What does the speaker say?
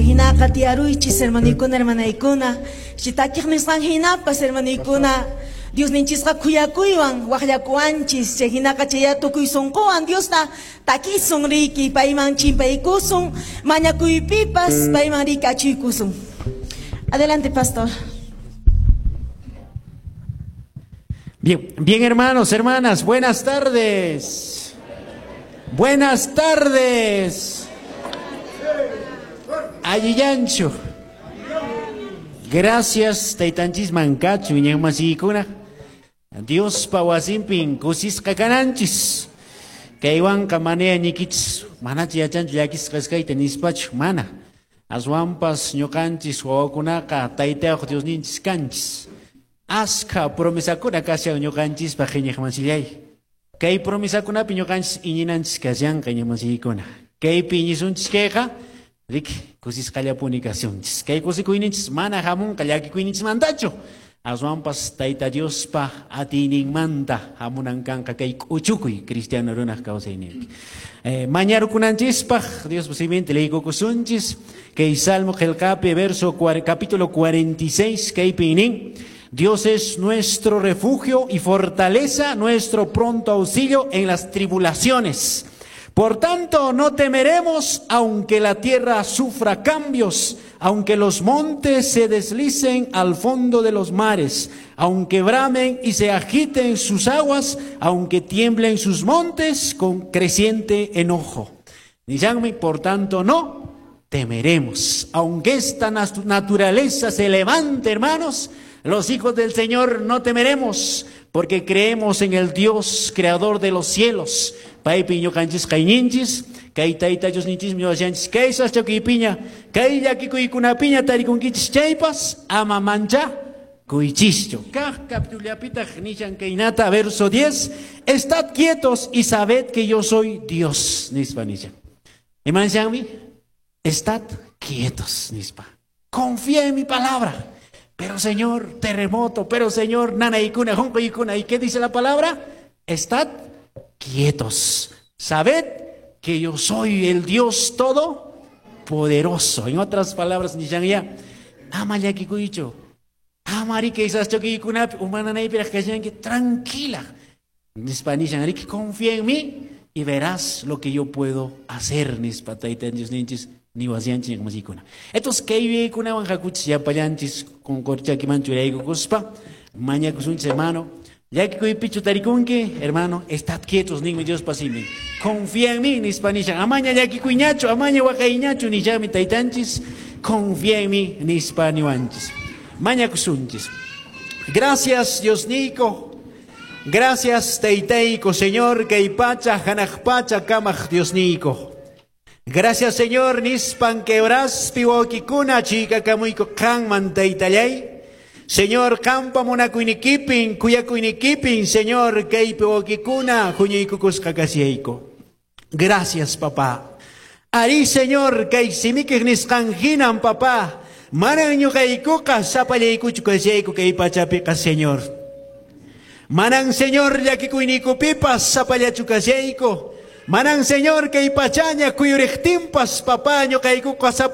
Chay hinaqa tiyaruychis hermanuykuna hermanaykuna. Chitakiq nisqan hinapas hermanuykuna Diosninchisqa khuyakuywan waqllakuwanchis. Chay hinaqa chaya tukuy sunquwan Diosta takisun riki payman chimpaykusun mañakuypipas payman riki achuykusun. Adelante, pastor. Bien, bien, hermanos, hermanas, buenas tardes. Buenas tardes. Allillanchu. Gracias, taytanchis mankachu, iñaqmasikuna. Diospa wasinpin kusisqa kananchis. Kaywanqa manaya ñikichis, manachu yachanchu llakisqa kasqayta nispachu, mana. Aswanpas ñuqanchis wawakunaqa taytayuq Diosninchis kanchis. Askha promesakuna kashan ñuqanchispaq iñiqmasillay. Kay promesakunapi ñuqanchis iñinanchis kashanqa iñiqmasikuna. Kaypi iñisunchis kayqa, riki kusisqallapuni kasunchis. Kay kusikuyninchis mana hamunqa llakikuyninchismantachu. Aswanpas Tayta Diospa atiyninmanta hamunan kanqa kay k'uchukuy cristiano runaq kawsayninpi. Mañarukunanchispaq Diospa siminta leykukusunchis. Kay Salmo qillqapi verso capítulo 46 kaypi nin: Dios es nuestro refugio y fortaleza, nuestro pronto auxilio en las tribulaciones. Por tanto, no temeremos aunque la tierra sufra cambios, aunque los montes se deslicen al fondo de los mares, aunque bramen y se agiten sus aguas, aunque tiemblen sus montes con creciente enojo. Díganme, por tanto, no temeremos. Aunque esta naturaleza se levante, hermanos, los hijos del Señor no temeremos, porque creemos en el Dios creador de los cielos. Paypi ñuqanchis kayninchis, kay tayta Diosninchis ñuqanchis, kay sasachakuypiña, kay llakikuykunapiña tarikunkichis chaypas, ama mancha kuychischu. Kaq capitullapitaq nishan kaynata, verso 10, estad quietos y sabed que yo soy Dios, nispa nishan. Imanshanmi? Estad quietos, nispa. Confía en mi palabra. Pero Señor, terremoto, pero Señor, nanaykuna, junqaykuna. ¿Y qué dice la palabra? Estad quietos. Sabed que yo soy el Dios todopoderoso. En otras palabras, nishan ya, ama llakikuychu. Ama riki sasachakuykunapi, umananaypiraq kashanki, tranquila. Nispa nishan, riki, confía en mí y verás lo que yo puedo hacer, nispa tayta Diosninchis niwasianchis ñakmasikuna. Entonces, kay yuyaykunawan hakuchis llapallanchis qunqurchakiman churaykukuspa, mañakusunchis, hermano. Llakikuypichu tarikunki, hermano, estad quietos, ninmi Diospa simin. Confía en mí, nispa nishan. Amaña llakikuyñachu, amaña waqayñachu, nishanmi taytanchis. Confía en mí, nispa niwanchis. Mañakusunchis. Gracias, Diosniyku. Gracias, taytayku, Señor, kay pacha, hanaq pacha, kamaq Diosniyku. Gracias, Señor, nispan quebraspi wawkikuna chikakamuyku qanman taytallay. Señor, qampa munakuynikipin, kuyakuynikipin, Señor, kaypi wawkikuna huñuykukusqa kasiyayku. Gracias, papá. Ari, Señor, kay simikiq nisqan hinan, papá. Manan ñuqaykuqa sapallaykuchu kasiyayku kay pachapiqa, Señor. Manan, Señor, llakikuyniykupipas sapallachu kasiyayku. Manan, Señor, kay pachaña kuyuriqtinpas, papá, ñuqaykuqa sapallaykuchu.